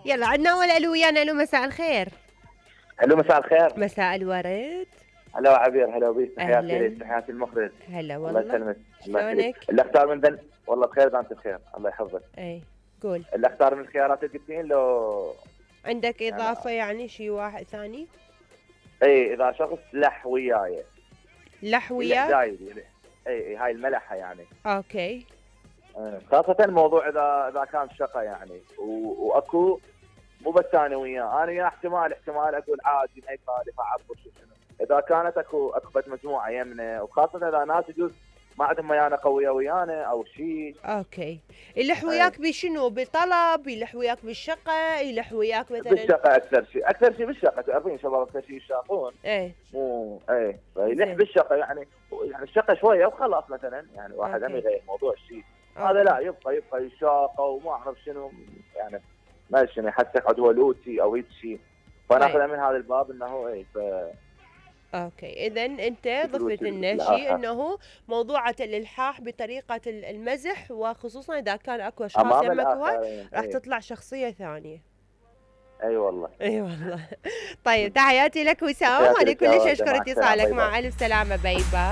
يلا عندنا اول الو ويانا. الو مساء الخير. الو مساء الخير. مساء الورد. هلا عبير، هلا بيك، تحياتي اهلا. لك، تحياتي المخرج. هلا الله والله. يسلمك. الله شلونك؟ يخليك. اللي اختار من ذن والله بخير اذا انت بخير، الله يحفظك. اي قول. اللي اختار من الخيارات اللي قلتين لو عندك اضافه يعني شيء واحد ثاني؟ اي اذا شخص لح وياي. لح وياك؟ اي هاي الملحه يعني. اوكي. خاصة الموضوع اذا كان شقه يعني واكو مو بس انا وياه، انا وياه احتمال اقول عادي ما يخالف اعبر شنو. اذا كانت اكو بد مجموعه يمنا، وخاصة اذا ناس يجوز ما عندهم ميانه قويه ويانا او شيء. اوكي. يلح وياك بشنو؟ بطلب؟ يلح وياك بالشقه؟ يلح وياك مثلا بالشقه اكثر شيء بالشقه، تعرفين شباب اكثر شيء يشاقون. مو يلح بالشقه يعني الشقه شويه وخلاص مثلا، يعني واحد هم يغير موضوع الشيء هذا، لا يبقى يشاقه وما اعرف شنو يعني، ما شنو يحسك عدوى لوتي او هيك شيء، فناخذها من هذا الباب انه اوكي. اذا انت ضفت لنا شيء انه موضوعة الالحاح بطريقة المزح، وخصوصا اذا كان اكو اشخاص يمك هواي راح تطلع شخصية ثانية. اي والله. اي والله. طيب تحياتي لك وسام، وانا كلش اشكر اتصالك. مع الف سلامة. باي باي.